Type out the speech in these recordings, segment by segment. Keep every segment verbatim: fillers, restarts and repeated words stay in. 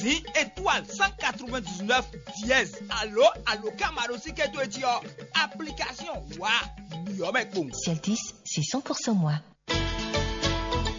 Ní étoile cent quatre-vingt-dix-neuf dièse alo aloka maɖosíké towe jí ɔ́, application wa nǔyɔ́ mɛ kpowun. Ciel dix, c'est cent pour cent moi.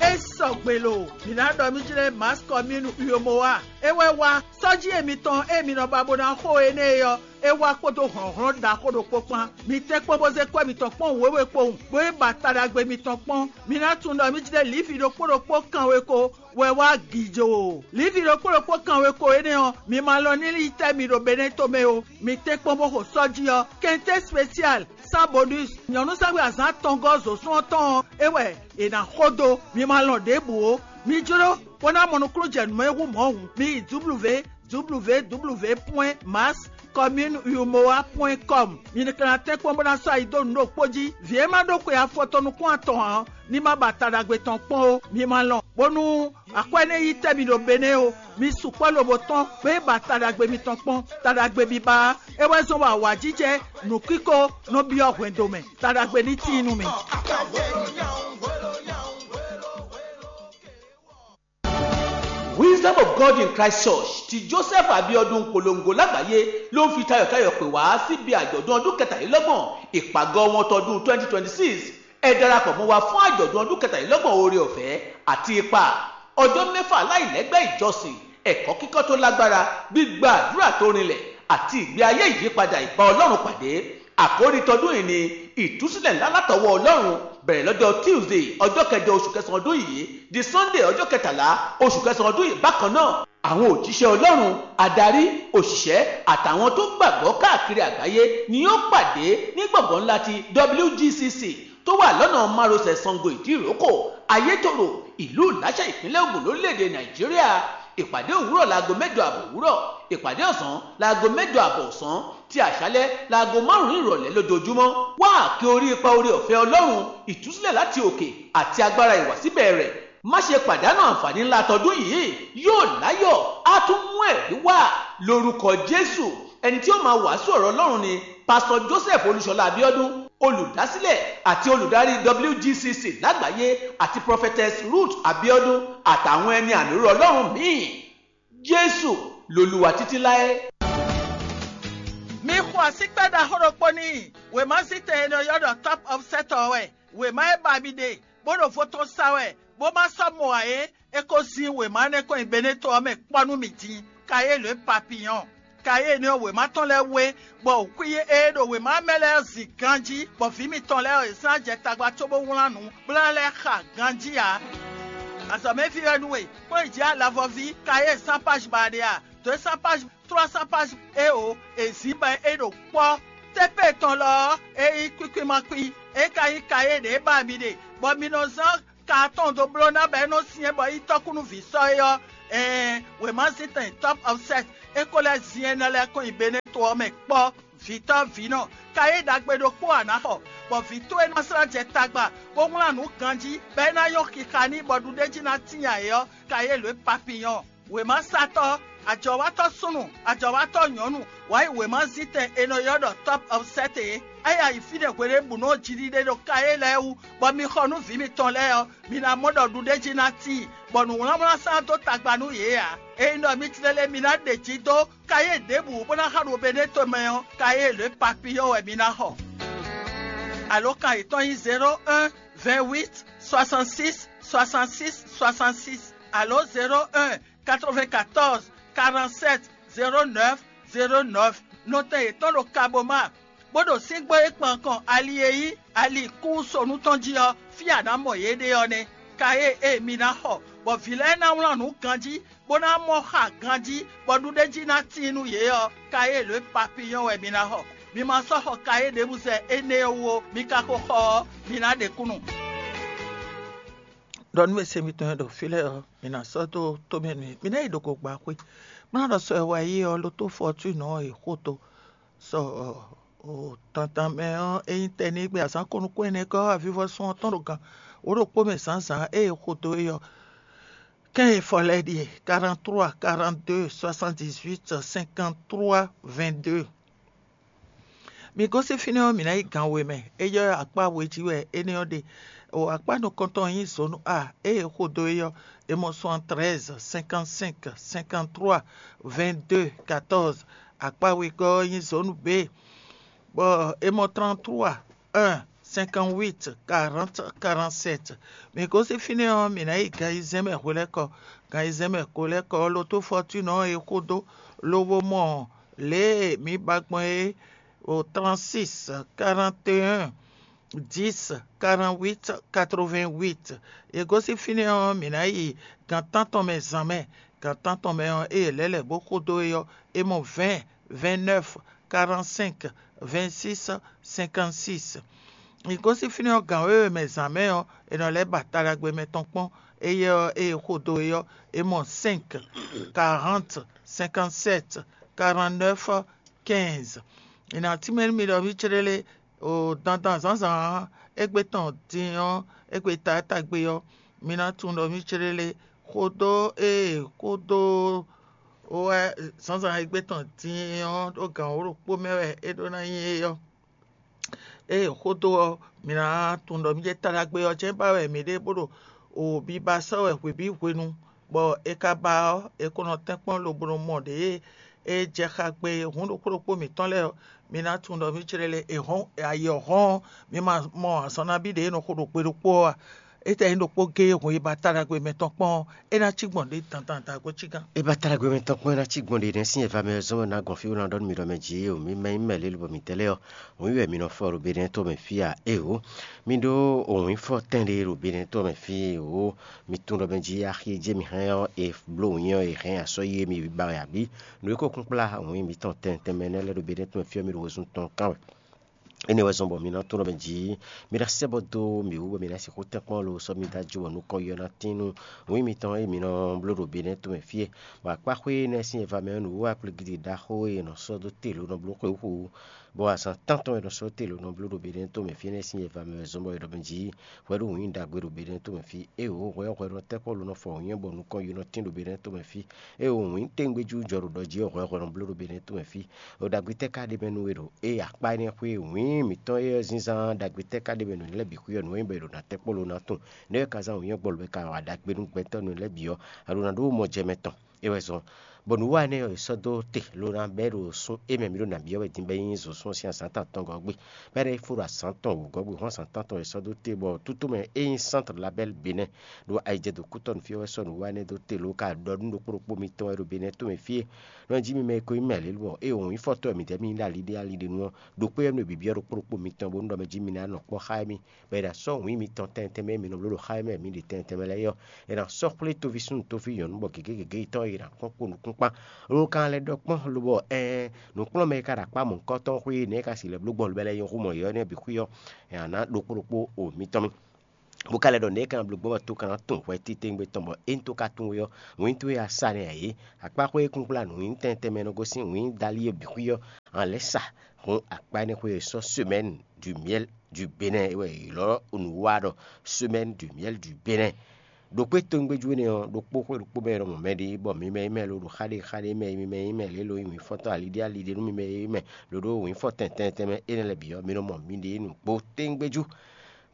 É sɔgbe lo, mǐ ná ɖɔ mì jlɛ́ Mass Commune Uyomowa. É wɛ wá sɔ́jí e mitɔn e mi nɔ ba bó ná xo énɛ́ é ɔ́, é wá kpódó hlɔ̌nhlɔ́n ɖaxó ɖokpó kpán. Mi tɛ́nkpɔ́n bó zé kwɛ́ mitɔn kpɔ́n wěwe kpowun, bó yi ba taɖagbe mitɔn kpɔ́n. Mi ná tunwun ɖɔ mì jlɛ́ lǐvi ɖokpó ɖokpó kanweko wɛ wá gǐ jó. Lǐvi ɖokpó ɖokpó kanweko énɛ́ ɔ́, mi ma lɔn ní yi tɛ́ mi ɖo Benɛ́to mɛ ó. Mi tɛ́nkpɔ́n bó xo sɔ́ jí ɔ́, kɛntɛ́ spécial, sans bonus, nyɔ̌núsɛ́xwé azǎn atɔngɔ́ zǒsún ɔ́ tɔn ɔ́, é wɛ è nǎ xo dó. Mi ma lɔn ɖěbǔ ó. Mi jló bó ná mɔ nukúnnú jɛ nǔ mɛ hú mɔ̌ hǔn, mi yi W W W point mass commune umoa point com. Mi ka ná tɛ́nkpɔ́n bó ná sɔ́ ayi dó nǔ ɖokpó jí. Vǐ e ma ɖó xwe afɔtɔn nukún atɔn ǎ ɔ́, ní ma ba ta ɖagbe tɔn kpɔ́n ó. Mi ma lɔn, bónú akwɛ́ nɛ́ yi tɛ́ mi ɖo Benɛ́ ó. Mi sukpɔ́ lobo tɔ́n bó yi ba ta ɖagbe mitɔn kpɔ́n. Ta ɖagbe biba ɔ́, é wɛ zɔ́n bɔ awǎjijɛ, nǔkíko nɔ byɔ́ hwɛndo mɛ. Ta ɖagbe ní tíin nú mi. Wisdom of God in Christ Church ti Joseph Abiodun polongo lágbàáyé ló ń fi tayọ̀tayọ̀ pè wá síbi àjọ̀dún ọdún kẹtàlélọ́gbọ̀n ìpàgọ́ wọn tọdún twenty twenty six. Ẹ darapọ̀ mọ́ wa fún àjọ̀dún ọdún kẹtàlélọ́gbọ̀n oore ọ̀fẹ́ àti ipa ọjọ́ mẹ́fà láìlẹ́gbẹ́ ìjọsìn, ẹ̀kọ́ kíkọ́ tó lágbára, gbígba àdúrà tó rinlẹ̀ àti ìgbé ayé ìyípadà ìbá Ọlọ́run pàdé. Àkórí tọdún yìí ni ìtúsílẹ̀ ńlá látọwọ́ Ọlọ́run, bẹ̀rẹ̀ lọ́jọ́ Tuesday ọjọ́ kẹjọ oṣù kẹsàn-án ọdún yìí di Sunday ọjọ́ kẹtàlá oṣù kẹsàn-án ọdún yìí bákan náà. Àwọn òjíṣẹ́ Ọlọ́run, adarí, òṣìṣẹ́ àtàwọn tó gbàgbọ́ káàkiri àgbáyé ni yóò pàdé ní gbọ̀ngàn ńlá ti W G C C tó wà lọ́nà márosẹ̀ Sango Ìdíròkò, Ayétòrò, ìlú Ìláṣà, ìpínlẹ̀ Ògùn, lórílẹ̀‐èdè Nàìjíríà. Ìpàdé òwúrọ̀ láago mẹ́jọ àbọ̀ òwúrọ̀, ìpàdé ọ̀sán láago mẹ́jọ àbọ̀ ọ̀sán, ti àṣálẹ́ láago márùn-ún ìrọ̀lẹ́ lójoojúmọ́. Wá àkè orí ipa oore ọ̀fẹ́ Ọlọ́run, ìtúsílẹ̀ láti òkè àti agbára ìwàsíbẹ̀ rẹ̀. Má ṣe pàdánù àǹfààní ńlá tọdún yìí, yóò láyọ̀, á tún mú ẹ̀rí wá lórúkọ Jésù. Ẹni tí ó máa wàásù ọ̀rọ̀ Ọlọ́run ni Pastor Joseph Olúṣọlá Abíọ́dún, olùdásílẹ̀ àti olùdarí W G C C lágbàáyé, àti Prophetess Ruth Abíọ́dún àtàwọn ẹni àmì òróró Ọlọ́run míì. Jésù lolúwa títí láé. Mi xo asíkpɛ́ ɖaxó ɖokpó n'i. Wěma zítɛn e nɔ ylɔ́ ɖɔ Top of Set ɔ́ wɛ. Wěma e ba mi ɖe, bó ɖo vo tɔn sa wɛ, bó ma sɔ́ mɔ ǎ é, é ko zín wěma énɛ́ kɔn nyi Beneto ɔ́ mɛ kpɔ́ nú mì din. Kayélu e papiyɔ́n. Kayélu ɔ́, wěma tɔn lɛ́ɛ wé, bɔ xwí e ɖo wěma mɛ lɛ́ɛ zin ganjí, bɔ vǐ mitɔn lɛ́ɛ ɔ́, è zán jɛ tagba cóbó wlán nǔ, bó ná lɛ́ xa ganjí ǎ. Azɔ̌mɛví wɛ nú we, kpɔ́n yi jǐ alavɔví, kayé sánpáj ba ɖe a? Dǒ sánpáj, trɔ́ sánpáj é o, è zǐn bɔ é ɖo kpɔ́. Tépé tɔn lɔ ɔ́, é nyí kwíkwímakpí, é ka nyí kayé ɖě ba mi ɖe, bɔ mi nɔ zán ka atɔn dó bló ná bɔ é nɔ syɛ́n bɔ é nyí tɔ́kúnúví sɔ́ é ɔ́, ɛɛn, wěma zíntɛn Top of Set é ko lɛ́ zin énɛ́ lɛ́ɛ kɔn nyi Beneto ɔ́ mɛ kpɔ́. Vǐtɔ́ vǐnɔ, kayé ɖagbe ɖokpó a nǎ xɔ, bɔ vǐ towe ná slá jɛ tagba, bó wlán nǔ ganjí, bɔ é ná nyɔ́ xixa n'i bɔ ɖuɖéjí ná tíin ayǐ ɔ́, kayé lǒ e papiyɔ́n. Wěmasátɔ́, ajɔ̌wátɔ́ súnnu, ajɔ̌wátɔ́ nyɔ̌nu, wǎ yi wěmazíntɛn è nɔ ylɔ́ ɖɔ Top of Set é. É yi ayǐ fínɛ́ hweɖěbǔnu ɔ́ jiɖiɖe ɖo kayé lɛ́ɛ wú, bɔ mi xɔ nú vǐ mitɔn lɛ́ɛ ɔ́, mi ná mɔ ɖɔ ɖuɖéjí ná tíin, bɔ nǔwlánwlán sán dó tagba nú yě ǎ. Ényí ɖɔ mi tlélé mi ná ɖe jǐ dó kayé ɖěbǔ bó ná xa ɖo Beneto mɛ ɔ́, kayé lě papiyɔ́ wɛ mi ná xɔ. Alǒkan yětɔn nyí zéro un, vingt huit, soixante six, soixante six, soixante six, alo zéro un, quatre vingt quatorze, quarante sept, zéro neuf, zéro neuf. Nɔtɛn yětɔn ɖo Kaboma, bó ɖo síngbó e kpan kɔn ali e nyí ali kúsonu tɔn jí ɔ́, fí a nǎ mɔ yě ɖe ɔ́ nɛ́. Kayé e mi ná xɔ, bɔ vǐ lɛ́ɛ ná wlán nǔ ganjí, bó ná mɔ xa ganjí, bɔ ɖuɖéjí ná tíin nú yě ɔ́, kayé lě papiyɔ́ wɛ mi ná xɔ. Mi ma sɔ́ xɔ kayé ɖěbǔ zɛ énɛ́ ɔ́ wú ó, mi ka ko xɔ ɔ́, mi ná ɖe kúnnu. Ɖɔ nú mɛsɛn mitɔn e ɖo fí lɛ́ɛ ɔ́, mi ná sɔ́ dó tó mɛ nú mì. Mi ná yi ɖo gǒgbáxwé, bó ná ɖɔ sɔ e wá yi ɔ́, ló tó fɔtúnɔ ɔ́, è xo to. Sɔ o tantan mɛ ɔ́, ényí tɛnígbe azǎn ko nukún ɛnɛ gɔ́ avivɔsɔn ɔ́ tɔn ɖo gan wǒ ɖokpó mɛ zǎnzǎn ée è xo dó é ɔ́, kɛ́n e fɔ lɛ́ɛ ɖíe: quarante-trois, quarante-deux, soixante-dix-huit, cinquante-trois, vingt-deux. Mi gosín fínɛ́ ɔ́, mǐ ná yi gan we mɛ. É yɔ́ akpá we jí wɛ énɛ́ ɔ́ ɖe. O akpá nukɔntɔn nyí zǒnu A, ée è xo dó é ɔ́, è mɔ soixante-treize, cinquante-cinq, cinquante-trois, vingt-deux, quatorze. Akpá wegɔ́ ɔ́ nyí zǒnu B, bɔ è mɔ trente-trois, un, cinquante-huit, quarante, quarante-sept. Mǐ gosín fínɛ́ ɔ́, mǐ ná yi gan ayizɛ́n mɛ hwelɛ́kɔ. Gan ayizɛ́n mɛ hwelɛ́kɔ ɔ́, Loto Fortune ɔ́ è xo dó, lobo mɔ lě e mǐ ba gbɔn é, o trente-six, quarante et un, dix, quarante-huit, quatre-vingt-huit. È gosín fínɛ́ ɔ́, mǐ ná yi gan tántɔn mɛ zǎn mɛ. Gan tántɔn mɛ ɔ́, ée è lɛ́ lɛ̌ bó xo dó é ɔ́, è mɔ vingt, vingt-neuf, quarante-cinq, vingt-six, cinquante-six. È gosín fínɛ́ ɔ́, gan wěwe mɛ zǎn mɛ ɔ́, è nɔ lɛ́ ba ta ɖagbe mɛ tɔn kpɔ́n. Éyɛ́ ɔ́, ée è xo dó é ɔ́, è mɔ cinq, quarante, cinquante-sept, quarante-neuf, quinze. È nǎ tínmɛ nú mi ɖɔ mǐ céɖélé, o dandan zǎnzǎn égbé tɔn din ɔ́, égbé taátagbe ɔ́, mi ná tunwun ɖɔ mǐ céɖélé. Xodó e xodó wɛ zǎnzǎn égbé tɔn din ɔ́ ɖó gan wǒ ɖokpó mɛ wɛ é ɖó ná nyí é ɔ́. Ée xodó ɔ́, mǐ ná tunwun ɖɔ mǐ jɛ ta ɖagbe ɔ́ jɛ́n ba wɛ mǐ ɖe bó ɖo o biba sɔ́ wɛ hwebǐ hwenu, bɔ è ka ba ɔ́, è ko nɔ tɛ́nkpɔ́n lobo nɔ mɔ ɖě e jɛ xá gbe hǔn ɖokpó ɖokpó mǐtɔn lɛ́ɛ ɔ́, mi ná tunwun ɖɔ mǐ clé lé è hɔn ayǐ ɔ́ hɔn ɔ́, mi ma mɔ azɔn nabí ɖě e nɔ xo ɖo gbe ɖokpó ɔ́ a? Étɛ́ nyí ɖokpó géé hun e ba ta ɖagbe mɛ tɔn kpɔ́n ɔ́, é ná cí gbɔn ɖě dandan dǎgbó cí gán. É ba ta ɖagbe mɛ tɔn kpɔ́n é ná cí gbɔn ɖě nɛ́ sín e va mɛ ɔ́ zɔ́n bɔ ná gɔn fí bó ná ɖɔ nú mi ɖɔ mɛ jǐ o, mi mɛ nyí mɛ lě lobɔ mǐtɛn lɛ́ɛ ɔ́, wǐn wɛ mi nɔ fɔ ɖo Benɛ́ɛ to mɛ fí a? Éeǒ, mi ɖó wǐnfɔ́tɛn ɖé ɖo Benɛ́ɛ to mɛ fí e o. Mi tunwun ɖɔ mɛ jí axi e jɛ mi hɛn ɔ́, è bló wǐn ɔ́, è hɛn asɔ́ yi e mi ba wɛ abǐ? Nǔ e ko kún kplá wǐn mitɔn tɛntɛn mɛ nɛ́ lɛ́ɛ ɖo Benɛ́ɛ to mɛ fí ɔ́, mi ɖo wezun tɔn kán wɛ. Énɛ́ wɛ zɔ́n bɔ mi ná tunwun ɖɔ mɛ jǐ, mi ná sɛ́ bɔ dó mǐ wú bɔ mi ná sixú tɛ́nkpɔ́n lo sɔ́ mi dó ajo bɔ nukɔn yɔ ná tín nú wǐn mitɔn e mi nɔ bló ɖo Benɛ́ɛ to mɛ fí é. Bɔ akpáxwé énɛ́ sín e va mɛ ɔ́, nǔwiwa kplígídi ɖaxó e è nɔ sɔ́ dó te lǒ nɔ bló xwé wú, bɔ azǎn tántɔn e è nɔ sɔ́ dó te lǒ nɔ bló ɖo Benɛ́ɛ to mɛ fí énɛ́ sín e va mɛ wɛ zɔ́n bɔ è ɖɔ mɛ jǐ, hwɛ ɖó wǐin ɖagbe ɖo Benɛ́to mɛ fí. Éeǒ, hwɛ ɔ́ hwɛ nɔ tɛ́ kpɔ́ lo nɔ fɔ wǐin bɔ nukɔn yi nɔ tín ɖo Benɛ́to mɛ fí. Éeǒ, wǐin téngbejú jɔ ɖo ɖɔ jí ɔ́, hwɛ hwɛ nɔ bló ɖo Benɛ́to mɛ fí. Ɖo ɖagbe tɛ́ ka ɖe mɛ nú we ɖo? Ée akpá énɛ́ xwé wǐin mǐtɔn e ɔ́ zínzán ɖagbe tɛ́ ka ɖe mɛ nú lɛ́ bǐ xwí ɔ́, nǔ e nyí bɔ è ɖo nǎ tɛ́ kpɔ́ lo ná tunwun. Nɛ̌ wɛ ka zán wǐin ɔ́ gbɔ lo bɔ è ka wa ɖagbe nú gbɛtɔ́ nú lɛ́ bǐ ɔ́, a ɖo nǎ ɖó mɔ jɛ mɛ tɔn? É wɛ zɔ́n, bɔ nǔ wa énɛ́ ɔ́ è sɔ́ dó te ló ná bɛ́ ɖo sún é mɛ mǐ ɖo nǎ byɔ́ wɛ din bɔ é nyí zǒsún ɔ́ sín azǎn tántɔn gɔ́ gbe, bɔ é ná yi fó ɖo azǎn tɔn wǒgɔ́ gbe hɔn azǎn tántɔn è sɔ́ dó te, bɔ tútú mɛ é nyí Centre Label Bénin ɖo ayijɛdo kútɔ́nu fí ɔ́ wɛ sɔ́ nǔ wa énɛ́ dó te ló ka ɖɔ nú ɖokpó ɖokpó mitɔn wɛ ɖo Bénin to mɛ fí é. Nɔ jí mi mɛ e ko nyí mɛ lě bɔ é wǒ nyí fɔ́tɔ́ wɛ midɛɛ mì nyí ɖo ali ɖé ali ɖé nu ɔ́, ɖokpó e mɛ ɖo bǐbyɔ́ ɖokpó ɖokpó mitɔn bónú ɖɔ mɛ jí mi ná nɔ kpɔ́ xá émí, bɔ è nǎ sɔ́ wǐin mitɔn tɛntɛn mɛ e mi nɔ bló ɖo xá émí wɛ mǐ ɖe tɛntɛn mɛ lɛ́ɛ é ɔ́, è nǎ sɔ́ xwlé toví súnnu tóví nyɔ̌nu bɔ gěgé gěgé yětɔn e è nǎ kpɔ́n kpo nǔkúnkpán. Ló ka lɛ́ ɖɔ kpɔ́n lobɔ ɛɛn, nǔkplɔ́nmɛ e ka ɖo akpá mɔ̌hunkɔtɔn xwé nɛ̌ ka si lɛ́ bló gbɔn lobɛ lɛ́ɛ nyɔ́ xú mɔ yɔ̌ nɛ́ bǐ xwí ɔ́, è nǎ ná ɖokpó ɖokpó o mitɔn mì. Bó ka lɛ́ ɖɔ nɛ̌ ka bló gbɔn bɔ tó ka ná tunwun hwɛ titewungbe tɔn bɔ é ní tó ka tunwun we ɔ́, wǐin towe a sa nɛ́ ǎ é. Akpáxwé e kúnkplá nǔ nyí tɛntɛn mɛ nɔ gosín wǐin dali e bǐ xwí ɔ́, a lɛ̌ sa hun akpá énɛ́ xwé e sɔ́ semɛ́ni du myɛ́l du Benɛ́ɛ é wɛ è ylɔ́ nǔ wa ɖɔ semɛ́ni du myɛ́l du Benɛ́ɛ. Ɖo kpé tongbéjú énɛ́ ɔ́, ɖokpó xwé ɖokpó mɛ e nɔ mɔ mɛ ɖe bɔ mi mɛ yi mɛ lo ɖo xa ɖé xa ɖé mɛ, mi mɛ yi mɛ lě lo nyí wǐnfɔ́ntɔ́ ali ɖé ali ɖé nú mi mɛ yi mɛ, lo ɖó wǐnfɔ́ tɛntɛn tɛnmɛ énɛ́ lɛ́ɛ bǐ ɔ́, mi nɔ mɔ miɖée nǔgbó téŋgbéjú.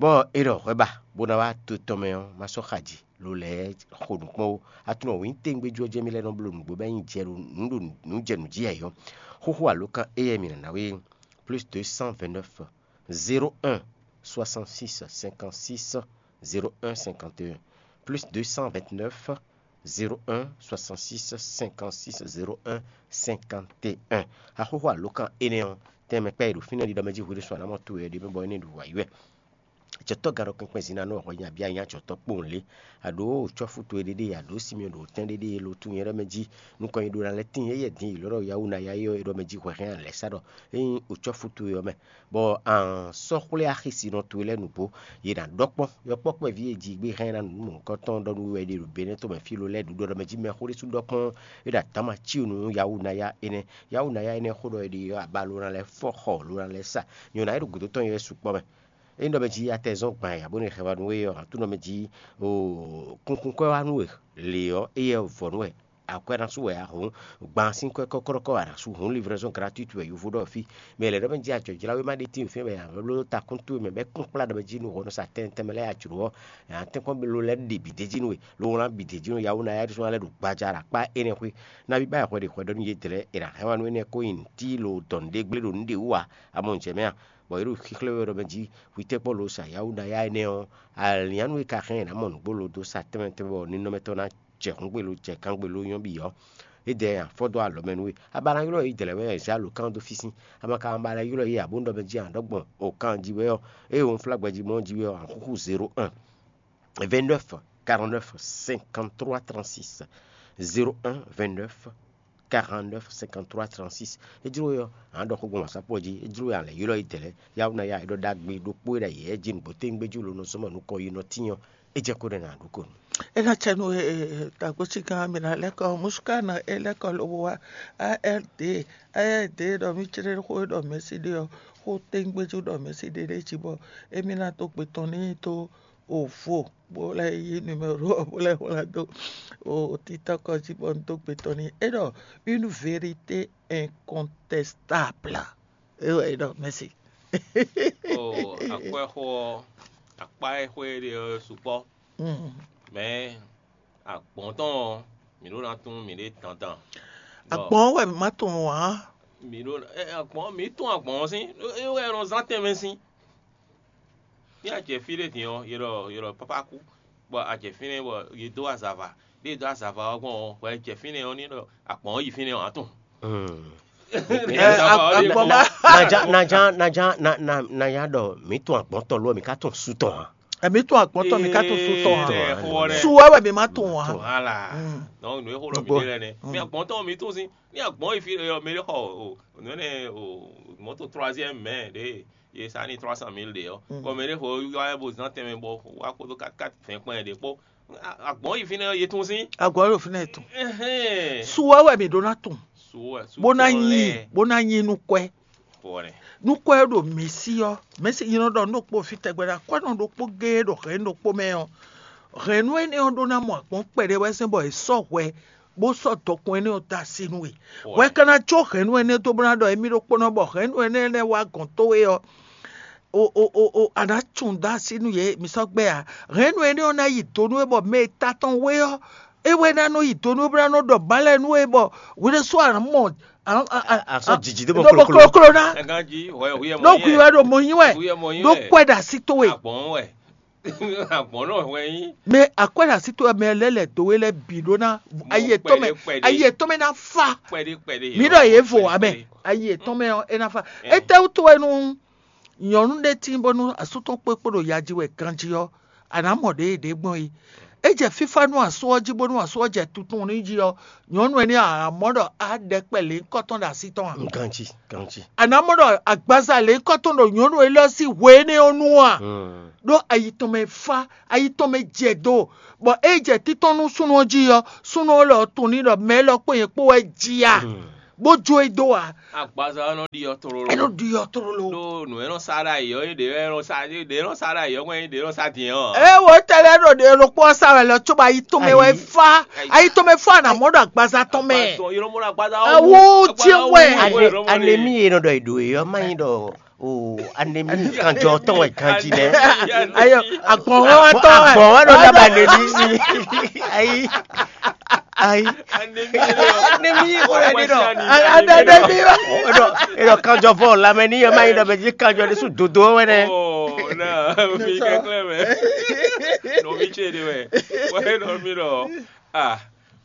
Bɔ è ɖɔ hwɛ ba bó ná wá to tɔn mɛ ɔ́, ma sɔ́ xa ji, lo lɛ́ɛ xo nǔ kpɔ́n ó. Aklúnɔ wǐn téŋgbéjú ɔ́ jɛ́n mì lɛ́ nɔ bló nǔgbó bɔ é nyí jɛ ɖo nǔ ɖo nǔ jɛ nǔ jí ayǐ ɔ́, xóxó alǒkan éyɛ́ mǐ nǎ ná we plus deux cent vingt-neuf, zéro un, soixante-six, cinquante-six, zéro un, cinquante et un, plus deux cent vingt-neuf, zéro un, soixante-six, cinquante-six, zéro un, cinquante et un. Axóxó alǒkan énɛ́ ɔ́, tɛnmɛ kpɛ́ e ɖo fínɛ́ ɖiɖɔ mɛ jí hwenu ɖé sɔ́ a nǎ mɔ towe ɔ́ ɖi mɛ bɔ é ní ɖu wǎ yi wɛ. Acɔ̌tɔ́ gadɔkɛn kpɛn zǐn ná nɔ hwɛ nya bia nyí acɔ̌tɔ́ kpowun lě, a ɖǒ cɔ́fú towe ɖéɖé, a ɖǒ Simeɔn ɖo tɛn ɖéɖé e lo tunwun nyɛ ɖɔ mɛ jí nukɔn nyi ɖó ná lɛ́ tíin éyɛ́ din yi lɔ̌ ɖɔ Yawunaya é ɔ́, é ɖɔ mɛ jí hwɛhɛn a lɛ̌ sá ɖɔ é nyí ocɔ́fú towe ɔ́ mɛ, bɔ a sɔ́ xwlé axi si nɔ towe lɛ́ɛ nǔgbó, yě ná ɖɔ kpɔ́n yɔkpɔ́ kpɛví e jí gbé hɛn ná nǔ mɔ̌hunkɔtɔn ɖɔ nú we wɛ ɖe ɖo Benɛ́ tɔn mɛ fí lo lɛ́ɛ ɖu ɖɔ mɛ jí mɛxó ɖésú ɖɔ kpɔ́n é ɖo adǎma cí nú Yawunaya énɛ́. Yawunaya énɛ́ xó ɖɔ è ɖi ɔ́, aba lo ná lɛ́ fɔ xɔ lo ná lɛ́ sa, nyɔ̌ná e ɖo gǔdo tɔn nyɛ wɛ sukpɔ́ mɛ. É ɖɔ mɛ jí atɛ zɔn gbǎn ya bónú è hɛn wá nú we ɔ́, aklúnɔ mɛ jí kúnkúnkwɛ́ wá nú we lě ɔ́, éyɛ́ vɔ̌ nú wɛ. Akwɛ́ ná sú wɛ a hǔn, gban sín kwɛ́ kɔ́kɔ́kɔ́ a nǎ sú hǔn, livraison gratuite wɛ yovo ɖɔ fí. Mɛ lɛ́ɛ ɖɔ mɛ jí ajɔ̌jláwé má ɖe tíin fínfín wɛ ǎ, bló ta kúntu e mɛ bɛ́ kún kplá ɖɔ mɛ jí nú hɔn nɔ sa tɛnmɛ tɛnmɛ lɛ́ɛ a jlǒ ɔ́, ǎ tɛ́nkpɔ́n bló lɛ́ ɖe bǐ d'é jí nú we, lo wlán bǐ d'é jí nú Yawuna yá ɖésú lɛ́ ɖo gbaja ɖo akpá énɛ́ xwé. Nabí bá xwɛ ɖě xwɛ ɖɔ nú yědɛɛ lɛ́ɛ è nǎ hɛn wá nú énɛ́ kó nyi nǔtí lo dɔn nǔɖé gblé ɖo nǔɖé wú ǎ, a mɔ nǔ jɛ mɛ a? Bɔ yě ɖo xíxlɛ́ wɛ ɖɔ mɛ jí hwitɛ́kpɔ́ lo sa Yawuna yá énɛ́ ɔ́, alǐnnyánú e ka hɛn è nǎ mɔ nǔgbó lo dó sa tɛnmɛ tɛnmɛ bɔ ninɔmɛ tɔn ná jɛ hǔngbé lo jɛ kangbé lo nyɔ́ bǐ ɔ́, é dɛ afɔ dó alɔ mɛ nú we. A ba ná ylɔ́ yě dlɛ̌ wɛ ǎ, zǎ alǒkan ɔ́ dó físín. A ma ka ba lɛ́ ylɔ́ yě ǎ bó ɖɔ mɛ jí a ɖɔ̌gbɔn o kan jí wɛ ɔ́, ée wunflágbɛjí mɔ jí wɛ ɔ́, a xúxú zéro un, vingt-neuf, quarante-neuf, cinquante-trois, trente-six. Zéro un, vingt-neuf, quarante-neuf, cinquante-trois, trente-six. É jló we ɔ́, a nǎ ɖɔ xó gbɔn wǎsápɔ jí. É jló we a lɛ̌ ylɔ́ yě dlɛ̌. Yawuna ya é ɖɔ ɖagbe ɖokpó e ɖo ayǐ é jí nǔgbó téwúngbéjú lo nɔ zɔ́n mɔ nukɔn yi nɔ tín ɔ́, é jɛ kó ɖɛ nǎ ɖó ko nú. É ná cɛ nú dǎgbócí gán mì ná lɛ́ kɔ mǔsúkánɔ é lɛ́ kɔ lobo wá. ARD, ARD ɖɔ mì clé xó e ɖɔ mɛ̌si ɖe ɔ́, xó téwúngbéjú ɖɔ mɛ̌si ɖe ɖ'é jí bɔ émí ná dó gbe tɔn n'i dó o vo, bó lɛ́ yí numéro ɔ́ bó lɛ́ wlán dó o títɔ́ kɔ jí bɔ un dó gbe tɔn n'i. É ɖɔ une vérité incontestable. É wɛ é ɖɔ mɛ̌si. O akwɛ́xó ɔ́, akpá e xwé ɖe ɔ́ sukpɔ́. Mɛ agbɔ̌n tɔn ɔ́, mǐ ɖó ná tunwun mǐɖée dandan. Agbɔ̌n wɛ mǐ ma tunwun ǎ. Mǐ ɖó agbɔ̌n mǐ tunwun agbɔ̌n ɔ́ sín, é wɛ nɔ zán tɛnmɛ sín. Ní a jɛ fí ɖé din ɔ́, yě ɖɔ yě ɖɔ pápá kú, bɔ a jɛ fínɛ́ bɔ yě dó azava. Ɖé e dó azava ɔ́ gbɔn ɔ́, hwɛ jɛ fínɛ́ ɔ́ ní ɖɔ agbɔ̌n ɔ́ yi fínɛ́ ɔ́, a tunwun. Nanya ɖɔ mǐ tɔn agbɔ̌ntɔn lo ɔ́, mǐ ka tɔn su tɔn ǎ. Mǐ tɔn agbɔ̌ntɔn mǐ ka tɔn su tɔn ǎ. Su wɛ wɛ mǐ ma tɔn ǎ. Voilà. Donc nǔ e xó ɖɔ mǐ ɖe lɛ́ɛ nɛ́. Mǐ agbɔ̌ntɔn mǐ tún sín. Ní agbɔ̌n yi fí ɖé ɔ́, mɛ ɖé xɔ o nǔ énɛ́ o mɔ̌to troisième mɛ ɖě ye sa ní trois cent mille ɖe ɔ́, bɔ mɛ ɖé xɔ yɔ wɛ bó zán tɛnmɛ bɔ wá kpódó kat kat fɛn kpɛn ɖě kpó. Agbɔ̌n yi fínɛ́ ye tún sín. Agbɔ̌n yi fínɛ́ ye tún. Su wɛ wɛ mǐ ɖó ná tún. Bó ná nyi bó ná nyi nú kwɛ́. Nú kwɛ́ ɖo mǐ sí ɔ́, mɛ̌si nyi nɔ ɖɔ nú ɖokpó fí tɛgbɛ ɖo akwɛ́nɔ ɖokpó géé ɖo hɛ̌nnu ɖokpó mɛ ɔ́, hɛ̌nnu énɛ́ ɔ́ ɖó ná mɔ agbɔ̌n kpɛɖé wɛ sín bɔ è sɔ́ hwɛ bó sɔ́ dɔkun énɛ́ ɔ́ dó así nú we. Hwɛ ka ná có hɛ̌nnu énɛ́ dó bó ná ɖɔ émí ɖokpónɔ bɔ hɛ̌nnu énɛ́ lɛ́ɛ wá gɔ̌n towe ɔ́, o o o o a nǎ tunwun dó así nú yě, mi sɔ́ gbɛ́ ǎ. Hɛ̌nnu énɛ́ ɔ́ ná yi do nú we bɔ mɛ e ta tɔn we ɔ́, é wɛ ná nɔ yi do nú we bó ná nɔ ɖɔ mǎ lɛ́ɛ nú we bɔ hwi ɖésú a nǎ mɔ a sɔ́ jǐjí dó bɔ kloklo. Kloklo ná. Ɖó hwi wɛ ɖo mɔ nyi wɛ. Ɖó kwɛ ɖo así towe. Agbɔ̌n nɔ hwɛ yín. Mɛ akwɛ́ ɖo así towe mɛ lɛ́ lɛ̌ dó we lɛ́ bǐ ɖó ná ayi etɔn mɛ ayi etɔn mɛ ná fa. Mǐ ɖɔ yě vo ǎ mɛ ayi etɔn mɛ ɔ́ é ná fa. Étɛ́wútu wɛ nú nyɔ̌nu ɖé tín bónú asú tɔn kpé kpo ɖo ya jí wɛ ganjí ɔ́, a nǎ mɔ ɖě e ɖě gbɔn é. É jɛ fífá nú asú ɔ́ jí bónú asú ɔ́ jɛ tuntun n'i jí ɔ́, nyɔ̌nu énɛ́ ɔ́, a nǎ mɔ ɖɔ á ɖɛ kpɛ lěhunkɔtɔn ɖo así tɔn ǎ. Ganjí, ganjí. A nǎ mɔ ɖɔ agbaza lěhunkɔtɔn ɖo nyɔ̌nu élɔ́ sín hwe énɛ́ ɔ́ nu a? Ɖó ayi tɔn mɛ fá, ayi tɔn mɛ jɛ do, bɔ é jɛ títɔn nú súnnu ɔ́ jí ɔ́, súnnu ɔ́ lɔ tunwun n'i ɖɔ mɛ élɔ́ kpó nyɛ kpó wɛ jí a? Bó jó e dó ǎ. Agbaza ɔ́ nɔ ɖi ɔ́ tlóló. É nɔ ɖi ɔ́ tlóló. Ɖó nǔ e nɔ sa ɖo ayǐ ɔ́, ɖě e nɔ sa ɖě e nɔ sa ɖo ayǐ ɔ́ wɛn ɖě e nɔ sa din ɔ́. É wo tɛlɛ ɖo ɖě ɖokpó ɔ́ sa wɛ lɔ cóbɔ ayi tɔn mɛ wɛ fá. Ayi tɔn mɛ fá nà mɔ ɖo agbaza tɔn mɛ. Awu tí wɛ. Anemi e nɔ ɖɔ ìɖò e ɔ́ má nyí ɖɔ o anemi kanjɔ tɔn wɛ ganji nɛ. Ayo agbɔnwɔ tɔ wɛ. Agbɔnwɔ ɖo daba anemi si. Ayi. Ayi. Anemi ko le ni dɔ. Anemi. Eɖɔ kanjɔ vɔ lamɛ ni yɛ ma yi dɔ mɛ ji kanjɔ de su dodo wɛ nɛ. Oh na mi kɛklɛ mɛ. Nɔ mi tse de wɛ. Wɛ nɔ mi dɔ. Ah.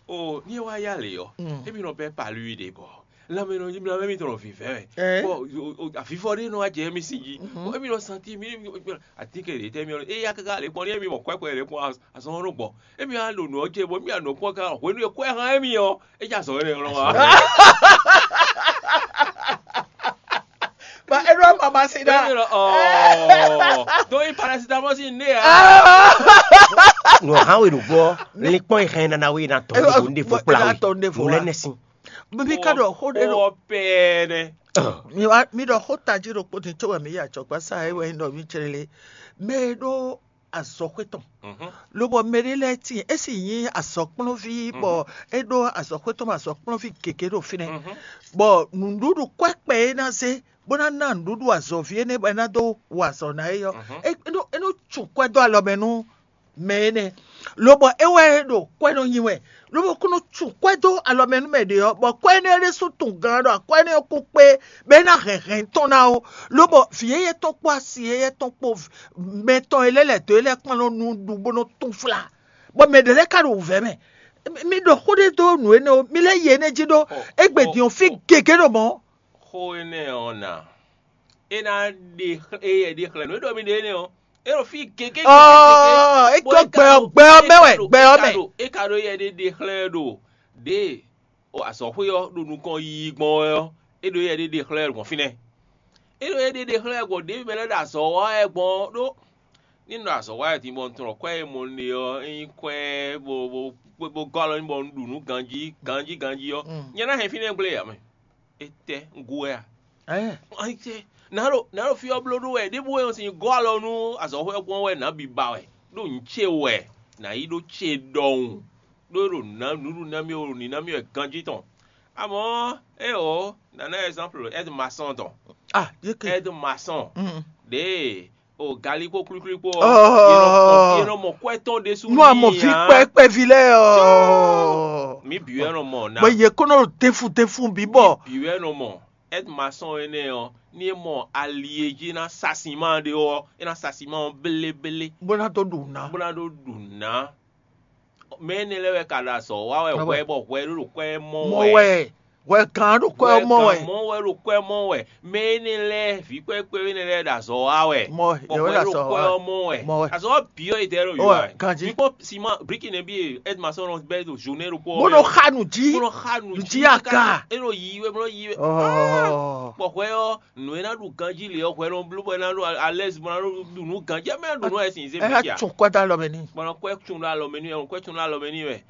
Oh ni wa ya le yɔ. Ebi nɔ bɛ palu yi de bɔ. Lamɛ nɔ lamɛ mi tɔnɔ vivɛ wɛ. Bɔ afifɔ de nɔ wa jɛ mi si ji. Ebi nɔ santi mi. Ati ke de tɛ mi ɔ eya kaka le kpɔn ni ebi mɔ kɔɛkɔɛ le kpɔn azɔn nɔ gbɔ. Emi a ɖo nǔ ɔ́ ce bɔ mì a nɔ kpɔ́n gán hwenu e kwɛ́ hán émí ɔ́, é jɛ azɔ̌ énɛ́ lɔn wá. Ba é ɖo ama ma si ɖa. Émi lɔ ɔɔ. Donc i paracetamol si ne ya. Nɔ hã we ɖo gbɔ, linkpɔn yi hɛn nana we na tɔ ne bo ne fo kpla we. Mo lɛ ne sin. Mi ka ɖɔ xó ɖe ɖo. Wɔ pɛɛ nɛ. Mi ɖɔ xó tají ɖokpó din tso wɛ mi yi acɔkpa sa é wɛ nyí ɖɔ mi tsrele. Mɛ e ɖo Azɔxwé tɔn. Lobɔ mɛɖé lɛ́ɛ tíin é sì nyí azɔ̌kplɔ́nví bɔ é ɖó azɔ̌xwé tɔn bɔ azɔ̌kplɔ́nví gěgé ɖo fínɛ́, bɔ nǔɖuɖu kwɛ́kpɛ e ná zé bó ná ná nǔɖuɖu azɔ̌ví énɛ́ bɔ é ná dó wa azɔ̌ ná é ɔ́, é nɔ é nɔ tsun kwɛ́ dó alɔ mɛ nú mɛ énɛ́, lobɔ é wɛ é ɖo kwɛ́ nɔ nyi wɛ, lobɔ kó nɔ tsun kwɛ́ dó alɔ mɛ nú mɛ ɖě ɔ́, bɔ kwɛ́ énɛ́ ɖésú tunwun gan ɖɔ akwɛ́ énɛ́ ɔ́ kún kpé bɔ é ná hɛn hɛn tɔn ná ó, lobɔ vǐ yɛ́yɛ́ tɔn kpó asi yɛ́yɛ́ tɔn kpó mɛ tɔn e lɛ́ lɛ̌ dó é lɛ́ɛ kplɔ́n nɔ nu ɖu bó nɔ túnflá, bɔ mɛ ɖě lɛ́ɛ ka ɖo wǔvɛ́ mɛ. Mi ɖɔ xó ɖé dó nǔ énɛ́ ó, mi lɛ́ yi énɛ́ jí ɖó égbé din ɔ́ fí gěgé ɖo mɔ̌. Xó énɛ́ ɔ́ ná, é ná ɖe xlɛ́ é yɛ ɖe xlɛ́ nǔ e ɖɔ mi ɖe énɛ́ ɔ́, é ɖo fí gěgé. Ɔ́, é gɔ́ gbɛ ɔ́, gbɛ ɔ́ mɛ wɛ, gbɛ ɔ́ mɛ. É ka ɖo yɛ ɖe ɖe xlɛ́ ɖo ɖě azɔ̌xwé ɔ́ ɖo nukɔn yiyi gbɔn wɛ ɔ́, é ɖo yɛ ɖe ɖe xlɛ́ gbɔn fínɛ́. É ɖo yɛ ɖe ɖe xlɛ́ gbɔn ɖěvi mɛ lɛ́ɛ ɖo azɔ̌ wa wɛ gbɔn ɔ́ ɖó ní un ɖo azɔ̌ wa wɛ din bɔ un tunwun ɖɔ kwɛ́ e mɔ un ɖe ɔ́ é nyí kwɛ́ bó bó bó gɔ́ alɔ n'i bɔ un ɖu nǔ ganjí ganjí ganjí ɔ́, nyɛ ná hɛn fínɛ́ gblé ǎ mɛ. Étɛ́ un gú wɛ a? Ayíjɛ, nǎ ɖo nǎ ɖo fí ɔ́ bló ɖó wɛ ɖěbǔ wɛ un sin gɔ́ alɔ nú azɔ̌xwɛ́ gbɔn wɛ nǎ bi ba wɛ, ɖó nǔ ce wɛ nǎ yí ɖó ce ɖɔhun, ɖó é ɖo nǎ nǔɖuɖu ná mì wɛ ɖo nǐ ná mì wɛ ganjí tɔn. Amɔ̌, éeǒ, nǎ ná ɛzánplu Ɛ́d Masɔ́n tɔn. Ah, yé ke. Ɛ́d Masɔ́n ɖěe o galí kpó klwíklwí kpó ɔ́, Ɔ́. Yě nɔ mɔ kwɛ́ tɔn ɖésú. Nú a mɔ vǐ kpɛkpɛví lɛ́ɛ ɔ́. Mǐ bǐ wɛ nɔ mɔ ná. Bɔ yě kó nɔ ɖo tɛ́nfun tɛ́nfun bǐ bɔ. Bǐ wɛ nɔ mɔ. Ɛ́d Masɔ́n énɛ́ ɔ́, ní é mɔ ali e jí é ná sa sinmá ɖé ɔ́, é ná sa sinmá ɔ́ bléblé. Bó ná dó ɖu ná. Bó ná ɖó ɖu ná. Mɛ énɛ́ lɛ́ɛ wɛ ka ɖo azɔ̌ wa wɛ hwɛ bɔ hwɛ ɖó ɖo kwɛ́ mɔ wɛ. Hwɛ kan ɖo kwɛ́ mɔ wɛ. Mɔ wɛ ɖo kwɛ́ mɔ wɛ. Mɛ énɛ́ lɛ́ɛ vǐ kpɛ́kpɛ́ énɛ́ lɛ́ɛ ɖo azɔ̌ wa wɛ. Mɔ bɔ hwɛ ɖo azɔ̌ wa. Kwɛ́ ɔ́ mɔ wɛ. Mɔ wɛ. Azɔ̌ wa bǐ ɔ́ yi dɛ ɖo yɔ wɛ. Ganjí. Mi kpɔ́ siman briki nɛ bí Ɛ́d Masɔ́n nɔ bɛ́ ɖo zone ɖokpó. Bó nɔ xa nǔ jí. Bó nɔ xa nǔ jí. Jí aka. É ɖo yi wɛ bó nɔ yi wɛ. Bɔ hwɛ ɔ́ nǔ e ná ɖu ganjí lě ɔ́ hwɛ nɔ bló bɔ é ná ɖo alɛ́zi bɔ é ná ɖo ɖu nǔ ganjí ɛ mɛ ɖu nǔ wɛ sin zé mɛ cia. Tún kwɛ́ dó alɔ mɛ n'i. Bɔ nɔ kwɛ́ tún ɖo alɔ mɛ n'i wɛ, nɔ kwɛ́ tún ɖo alɔ mɛ n'i wɛ.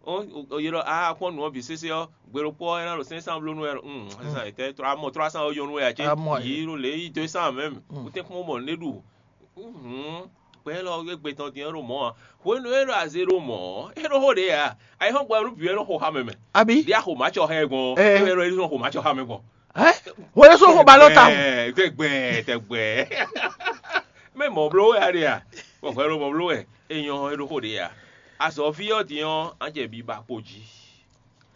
Ó yě ɖɔ a kpɔ́n nǔ ɔ́ bǐ sésé ɔ́, gbe ɖokpó ɔ́ é ná ɖo sɛ́n san bló nú wɛ. Sɛ́n san yě tɛ́ trɔ amɔ trɔ san ɔ́ yɔ nú wɛ ǎ cé? Yě ɖo lě yi dó sán mɛ. Kútɛ́n kpɔ́n mɔ nǔ ɖé ɖu. Gbɛ élɔ́ égbé tɔn din ɔ́ ɖo mɔ̌ ǎ. Hwenu e é ɖo aze ɖo mɔ̌ ɔ́, é ɖo xó ɖě ǎ. Ayǐhɔ́ngbe ɔ́ nú bǐ wɛ nɔ xo xá mɛ mɛ. Abǐ? Ɖě a xo mǎ cɔ xá ɛ gbɔn ɔ́, é wɛ ɖɔ é nɔ xo mǎ cɔ xá mɛ gbɔn. Hwenu sɔ́ xo ba lɔ ta. Tɛgbɛ tɛgbɛ. Mɛ mɔ bló wɛ a ɖe a? Bɔ hwɛ ɖo mɔ bló wɛ. É nyɔ́ é ɖo xó ɖě a? Azɔ̌ví ɔ́ din ɔ́, an jɛ biba kpo jí.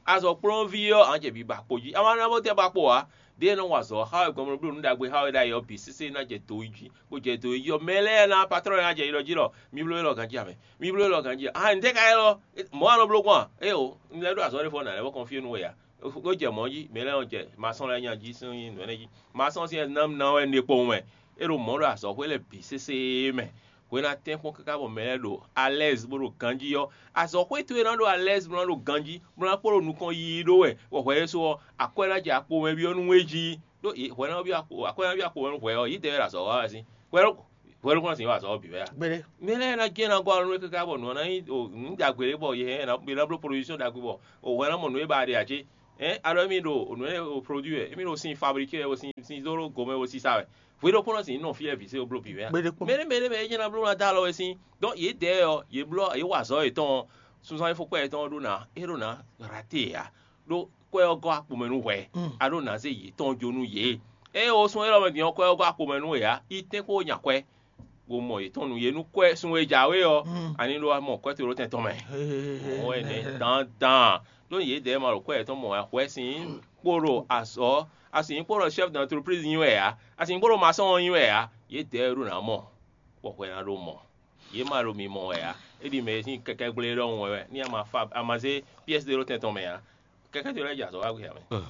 Azɔ̌kplɔ́nví ɔ́, an jɛ biba kpo jí. A ma ná bó tɛ́ ba kpo ǎ. Ɖěe nɔ wa azɔ̌ xá wɛ gbɔn bló nú ɖagbe xá wɛ ɖ'ayǐ ɔ́ bǐ sésé ná jɛ do yi jí, bó jɛ do yi jí ɔ́, mɛ lɛ́ɛ ná patlɔ́n ná jɛ yi ɖɔ jí ɖɔ mi bló élɔ́ ganjí ǎ mɛ. Mi bló élɔ́ ganjí ǎ. Ahan ntɛ́ ka élɔ́? Mɔ̌ a nɔ bló gbɔn a? Éeǒ, un lɛ́ ɖó azɔ̌ ɖé fɔ nǎ lɛ́ vɔ kɔnfyé nú we ǎ. Ó jɛ mɔ̌ jí, mɛ lɛ́ɛ nɔ jɛ masɔ́n lɛ́ɛ nya jí sín nǔ énɛ́ jí. Masɔ́n sín ná ná wɛ un ɖe kpowun mɛ. É ɖo mɔ̌ ɖo azɔ̌xwé lɛ́ɛ bǐ sésé mɛ. Hwe ná tɛ́nkpɔ́n káká bɔ mɛ lɛ́ɛ ɖo alɛ́zi bó ɖo ganjí ɔ́, azɔ̌xwé towe ná ɖo alɛ́zi bó ná ɖo ganjí, bó ná kpó ɖo nukɔn yiyi ɖó wɛ, bɔ hwɛ ɖésú ɔ́, akwɛ́ ná jɛ akpo mɛ byɔ́ nú we jí. Ɖó hwɛ ná byɔ́ akpo, akwɛ́ ná byɔ́ akpo mɛ nú hwɛ ɔ́, yǐdɛɛ wɛ ɖo azɔ̌ wa wɛ sín. Hwɛ ɖokpó hwɛ ɖokpó ná sixú wa azɔ̌ ɔ́ bǐ wɛ a? Mɛ lɛ́ɛ ná jɛ́n ná gɔ́ alɔ nú we káká bɔ nǔ ɔ́ ná nyí nǔ ɖagbe ɖé bɔ yě ná bló production ɖagbe bɔ hwɛ ná mɔ nǔ e ba ɖe ǎ cé? Ɛn alɔ émí ɖo nǔ e produit wɛ, émí ɖo sin fabriqué wɛ, sin sin dó gomɛ wɛ, sisa wɛ. Hwe ɖokpó nɔ sin nɔ fí wɛ vǐ sé bló bǐ wɛ a? Mɛ ɖé mɛ ɖé mɛ é jɛ́n ná bló ná dó alɔ wɛ sín. Donc yě dɛ ɔ́, yě bló yě wa azɔ̌ yětɔn ɔ́, sunzán fó kpɛ́ yětɔn ɔ́ ɖó ná é ɖó ná raté ǎ. Ɖó kwɛ́ ɔ́ gɔ́ akpo mɛ nú hwɛ, a ɖó ná zé yětɔn jó nú yě. Ée wo sún élɔ́ mɛ din ɔ́, kwɛ́ ɔ́ gɔ́ akpo mɛ nú we ǎ, yi tɛ́nkpó nya kwɛ́, bó mɔ yětɔn nú yě nú kwɛ́ sun e jǎwe ɔ́, ani ɖó wá mɔ kwɛ́ toɖótɛn tɔn mɛ. Mɔ̌ wɛ nɛ́ dandan. Ɖó yědɛɛ ma ɖo kwɛ́ yětɔn mɔ ǎ, hwɛ sin kpo ɖo azɔ̌, asin kpo ɖo chef d'entreprise nyi wɛ ǎ, asin kpo ɖo masɔ́n ɔ́ nyi wɛ ǎ, yědɛɛ ɖó ná mɔ, bɔ hwɛ ná ɖó mɔ. Yě ma ɖo mi mɔ wɛ ǎ. É ɖi mɛ e sín kɛkɛ́ gblé ɖɔhun wɛ wɛ, ní a ma fa a ma zé pièce d'euro tɛn tɔn mɛ ǎ. Kɛkɛ́ towe lɛ́ɛ jɛ azɔ̌ wá gbé ǎ mɛ.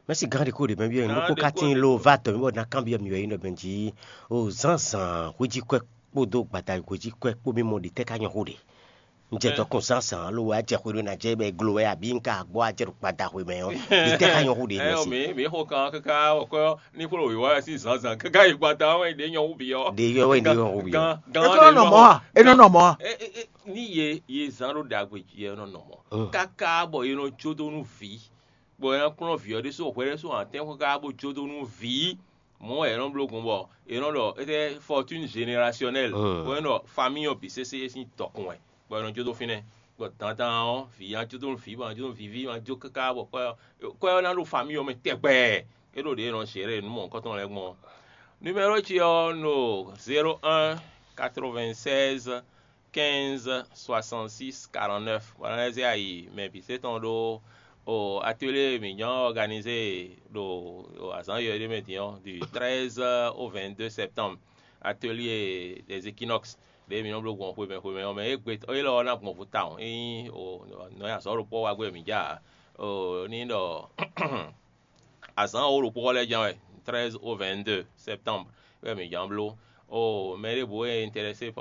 Mɛ̌si gán ɖé kó ɖě mɛ byɔ́ nyi nú kó ka tíin lo va dɔ̌n mì bɔ ná kanbyɔ́ mì wɛ nyí ɖɔ mɛ jí o zǎnzǎn hwéjíkwɛ́ kpódó gbada hwéjíkwɛ́ kpó mì mɔ ɖě tɛ́ ká nyɔ́ xó ɖě. Un jɛ dɔkun zǎnzǎn lo wɛ a jɛ xwe ɖó ná jɛ bɔ è glo wɛ abǐ un ka gbɔ a jɛ ɖo gbada hwe mɛ ɔ́, ɖě tɛ́ ká nyɔ́ xó ɖě mɛ Ɛyɔ si. Mǐ mǐ xo kan káká wɔ kɔ ní kplɔ́n wǐwá wɛ sín zǎnzǎn káká yi gbada wɛ ɖě nyɔ́ xú bǐ ɔ́. Ɖě yɔ wɛ ɖě nyɔ́ xú bǐ ɔ́. Gan É gan kó nɔ nɔ mɔ̌ a? É nɔ nɔ mɔ̌ a? Ní yě yě zán ɖó ɖagbe jí ɛ nɔ nɔ mɔ̌. Káká bɔ yě nɔ jó dó nú vǐ, bɔ é ná kplɔ́n vǐ ɔ́ ɖésú hwɛ ɖésú hǎntɛ́n xó káká bó jó dó nú vǐ, Mɔ̌ wɛ è nɔ bló gbɔn bɔ è nɔ ɖɔ étɛ́ fortune générationnelle, bɔ è nɔ ɖɔ famille ɔ́ bǐ sésé é sín dɔkun wɛ, bɔ è nɔ jó dó fínɛ́. Bɔ dandan ɔ́, vǐ ná jó dó nú vǐ, bɔ ná jó dó nú vǐví, bɔ ná jó káká bɔ kwɛ́ ɔ́, kwɛ́ ɔ́ ná ɖo famille ɔ́ mɛ tɛgbɛ. É ɖo ɖě è nɔ géré nǔ mɔ̌hunkɔtɔn lɛ́ɛ gbɔn ɔ́. Numéro ce ɔ́, no zéro un quatre-vingt-seize quinze soixante-six quarante-neuf. Bɔ ná lɛ́ zé ayi mɛ bǐ sɛ́ tɔn ɖó o atelier mǐ nyɔ́ organisé ɖo azǎn yɔ̌yɔ́ ɖé mɛ din ɔ́, du treize au vingt-deux septembre, atelier des équinoxes ɖě mǐ nɔ bló gbɔn xwemɛ xwemɛ ɔ́ mɛ. Égbé élɔ́ ɔ́ ná gbɔn vo tawun. Ényí o nɔ nyi azɔ̌ ɖokpó wá gbé mǐ ja ǎ. O ní ɖɔ azǎn wǒ ɖokpó lɛ́ɛ jɛ́n wɛ, treize au vingt-deux septembre wɛ mǐ ján bló. O mɛ ɖěbǔ e intéressé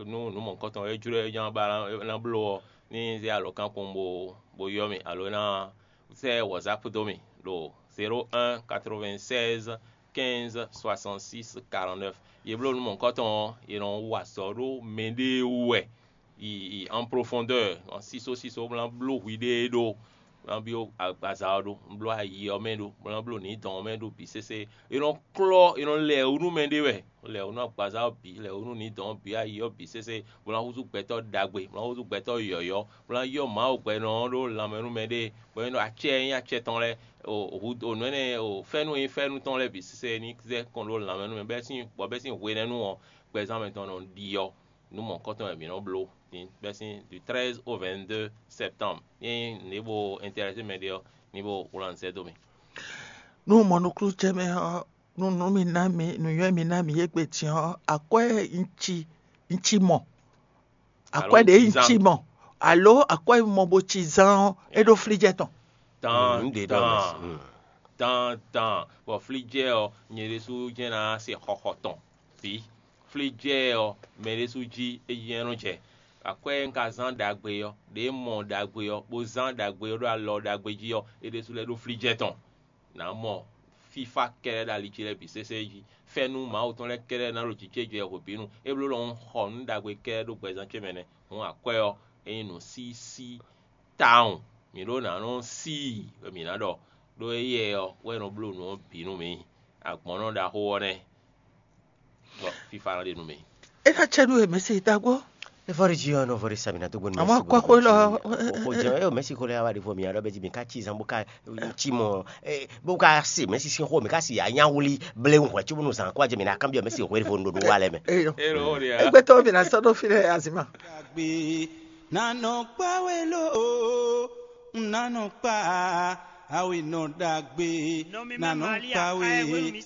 nú nǔ mɔ̌hunkɔtɔn e jló e ján ba ná bló ɔ́, ní zé alɔ̌kan kpɔ́n bó bó ylɔ́ mì alo é ná sɛ́ WhatsApp dó mì ɖo zéro un quatre-vingt-seize quinze soixante-six quarante-neuf. Yě bló nǔ mɔ̌hunkɔtɔn ɔ́, è nɔ wa azɔ̌ ɖó mɛɖée wú wɛ. Yi en profondeur, sísó sísó, bó ná bló hwiɖée ɖó, bó ná byɔ́ agbaza ɔ́ ɖó, bló ayi ɔ́ mɛ ɖó, bó ná bló nǐdɔn ɔ́ mɛ ɖó bǐ sésé. È nɔ klɔ́, è nɔ lɛ wǔ nú mɛɖé wɛ, lɛ wǔ nú agbaza ɔ́ bǐ, lɛ wǔ nú nǐdɔn ɔ́ bǐ, ayi ɔ́ bǐ sésé, bó ná húzú gbɛtɔ́ ɖagbe, bó ná húzú gbɛtɔ́ yɔ̌yɔ́, bó ná yɔ́ Mawu gbɛnɔ ɔ́ ɖó lanmɛ nú mɛɖée, bɔ é nɔ acɛ e nyí acɛ tɔn lɛ́ɛ, o hǔ o nǔ énɛ́ o fɛ́nú e nyí fɛ́nú tɔn lɛ́ɛ bǐ sésé ní zɛ kɔn ɖó lanmɛ nú mɛ, bɛ́ sín bɔ bɛ́ sín hwenɛ́nu ɔ́, gbɛzán mɛtɔn nɔ ɖi ɔ́. Nǔ mɔ̌hunkɔtɔn wɛ mǐ nɔ bló din bɛ́ sín du treize au vingt-deux septembre. Ényí nǔ e bo intéressé mɛ ɖé ɔ́, ní bo wlán sɛ́ dó mì. Nú mɔ nukúnnú ce mɛ ɔ́, nú nǔ mi ná mi nǔnywɛ́ mi ná mi égbé din ɔ́, akwɛ́ un ci un ci mɔ. Akwɛ́ ɖě un ci mɔ, alo akwɛ́ mɔ bo ci zán ɔ́, é ɖó flíjɛ tɔn. Tan Mm, ɖe ɖɔ mɛ. tan Mm. tan tan, bɔ flíjɛ ɔ́, nyɛ ɖésú jɛ́n ná se xɔxɔ tɔn bǐ. Flíjɛ ɔ́, mɛ ɖésú jí é jɛ́n nɔ jɛ. Akwɛ́ e un ka zán ɖagbe ɔ́, ɖě mɔ ɖagbe ɔ́, bó zán ɖagbe ɔ́ ɖó alɔ ɖagbe jí ɔ́, é ɖésú lɛ́ ɖó flíjɛ tɔn. Nǎ mɔ fífá kɛ́ɖɛ́ ɖo ali ce lɛ́ɛ bǐ sésé jí. Fɛ́nú Mawu tɔn lɛ́ɛ kɛ́ɖɛ́ ná ɖo jǐ ce jɛ hwebǐnu. É bló ɖɔ un xɔ nǔ ɖagbe kɛ́ɖɛ́ ɖó gbɛzán ce mɛ nɛ́. Hǔn akwɛ́ ɔ́, é nyí nǔ sísí tawun. Mǐ ɖó ná nɔ sí i wɛ mǐ ná ɖɔ, ɖó éyɛ́ ɔ́ wɛ nɔ bló nǔ ɔ́ bǐ nú mǐ. Agbɔ̌nnɔ ɖaxó ɔ́ nɛ́, bɔ fífá ná ɖe nú mǐ. É ná cɛ nú we mɛ̌si ɖagbó. Evɔri jí ɔ́ nɔ vɔri sami na tó gbóni. Àmọ́ kɔ́xó lɔ. Kò jẹ́ ẹ ò mẹ́sì kó lè wá di fún mi, alɔ bɛ jí mi ká ci zan bó ká ci mɔ, bó ká se mẹ́sì sín xó mi ká si anyáwuli blé ń hwẹ́ tí bónú zan kó ajẹ́ mi ná kábíyọ̀ mẹ́sì hwẹ́ fún dodo wá lẹ́ mɛ. Eyo. Èrò ó rí a. Egbe tó mi na sɔ́ ɖó fi lɛ azima. Dàgbé, nanɔ kpáwé ló o, nanɔ kpá, àwìn nɔ dàgbé, nanɔ kpáwé.